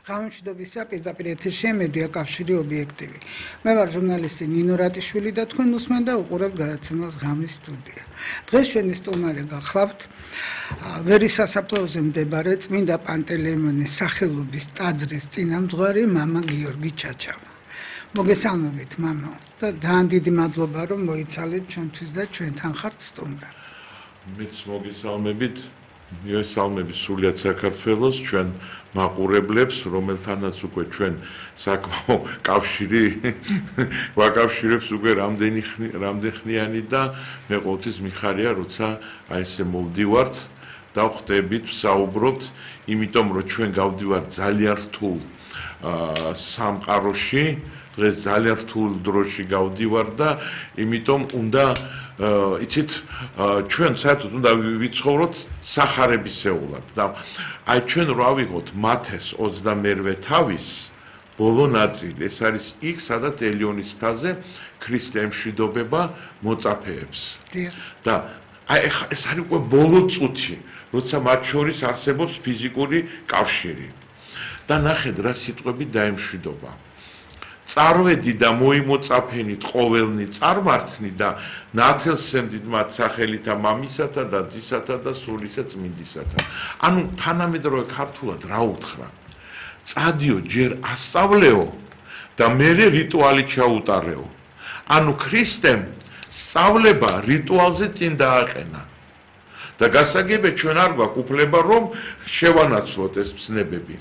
გამომშვიდობისა პირდაპირ ეთერში მედია კავშირი ობიექტივი. მე ვარ ჟურნალისტი ნინო რატიშვილი და თქვენ უსმენთ და უყურებთ გადაცემას ღამის სტუდია. დღეს ჩვენი სტუმარი გახლავთ ვერის სასაფლაოზე მდებარე წმინდა პანტელეიმონის სახელობის ტაძრის წინამძღვარი მამა გიორგი ჩაჩავა. მოგესალმებით მამა და ძალიან დიდი მადლობა რომ მოიცალეთ ჩვენთვის და ჩვენთან ხართ სტუმრად. მეც მოგესალმებით, მივესალმები სულიად საქართველოს ჩვენ მაყურებლებს, რომელთანაც უკვე ჩვენ საკმაო კავშირი ვაკავშირებს უკვე რამდენხნიანი და მე ყოველთვის მიხარია, როცა აი ესე მოვდივართ და ხვდებით, ვსაუბრობთ, იმიტომ რომ ჩვენ გავდივართ ძალიან რთულ სამყაროში, დღეს ძალიან რთულ დროში გავდივარ და იმიტომ უნდა იცით ჩვენ საერთოდ უნდა ვიცხოვროთ სახარებისეულად და აი ჩვენ რა ვიღოთ მათეს 22 თავის ბოლო ნაწილი ეს არის იქ სადაც ელიონის მთაზე ქრისტე ემშვიდობება მოწაფეებს და აი ეს არის უკვე ბოლო წუთი როცა მათ შორის არსებობს ფიზიკური კავშირი და ნახეთ რა სიტყვები დაემშვიდობა წარვედი და მოიმოწაფენით ყოველნი წარმართნი და ნათელსემდით მათ სახელითა მამისათა და ძისათა და სულისა წმინდისათა. ანუ თანამედროვე ქართულად რა უთხრა? წადიო ჯერ ასწავლეო და მერე რიტუალი ჩაუტარეო. ანუ ქრისტემ სწავლება რიტუალზე წინ დააყენა. და გასაგებია ჩვენ არ გვაქვს უფლება რომ შევანაცვლოთ ეს ცნებები.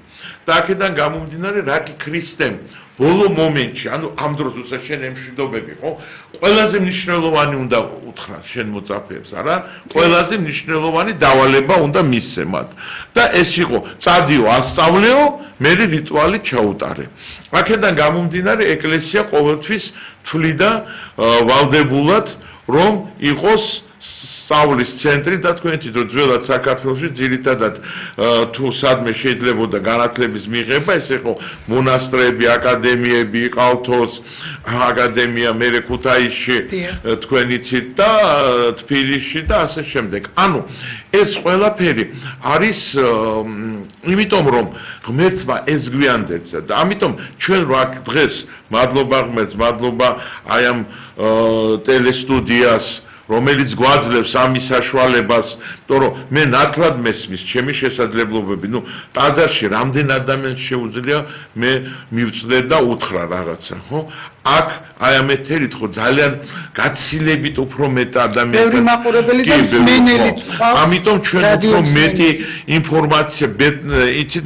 და აქედან გამომდინარე რა კი ქრისტემ ბოლო მომენტში, ანუ ამ დროს უცა შენ ემშვიდობები, ხო? ყველაზე მნიშვნელოვანი უნდა უთხრა შენ მოწაფეებს, არა? ყველაზე მნიშვნელოვანი დავალება უნდა მისცე მათ. და ეს იყო წადიო ასწავლეო, მერე რიტუალი ჩაუტარე. აქედან გამომდინარე ეკლესია ყოველთვის თვლიდა ვალდებულად რომ იყოს სწავლის ცენტრი და თქვენ თვითონ ძველად საქართველოში ძირითადად თუ სადმე შეიძლებოდა განათლების მიღება ეს იყო მონასტრები, აკადემიები, იყალთოს აკადემია მერე ქუთაისში თქვენ იცით და თბილისში და ასე შემდეგ. ანუ ეს ყველაფერი არის იმიტომ რომ ღმერთმა ეს გვიანდეცა და ამიტომ ჩვენ რა დღეს მადლობა ღმერთს, მადლობა აი ამ ტელესტუდიას რომელიც გვაძლევს ამის საშუალებას, იმიტომ მე ნათლად მესმის ჩემი შესაძლებლობები, ტაძარში რამდენ ადამიანს შეუძლია მე მივწდე და უთხრა რაღაცა, ხო? აქ აი ამ ეთერით ხო ძალიან გაცილებით უფრო მეტ ადამიანს ბევრი მაყურებელი და მსმენელი ამიტომ ჩვენ უფრო მეტი ინფორმაცია იცით